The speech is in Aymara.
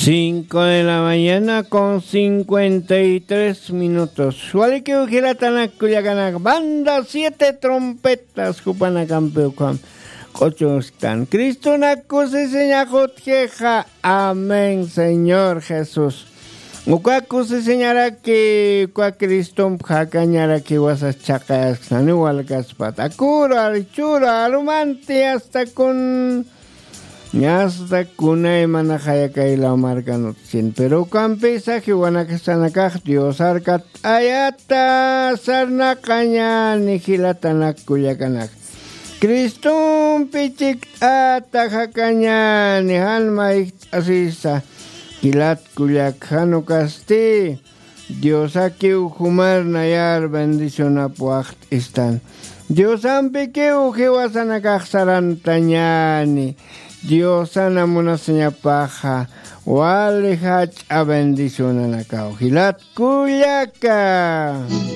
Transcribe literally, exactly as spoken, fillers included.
Cinco de la mañana con cincuenta y tres minutos. Walikiw jilatanak kullakanak, banda siete trompetas jupanakampi ukham q'uchusktan. Cristonak kusisiñax utjixa. Amén, Señor Jesús. Uka kusisiñaraki, uka Cristomp jakañaraki wasas chhaqayasktan, walkaspat. Akuru, archuru, arumanti hasta kun Ñasta kunaymanaxaya kay law markan utjchin, pero ukampisa jiwanakasanakax Dios arkatt'ayata sarnaqañäni jilatanak kullakanak. Cristompi chikt'ata jakañäni, jan mayjt'asisa jilat kullak, jan ukasti Diosakiw jumar nayar bendicionap waxt'istan. Diosampikiw jiwasanakax sarantañäni. Diosana munasiñapaxa wali jach'a bendicionanakaw jilat kullaka.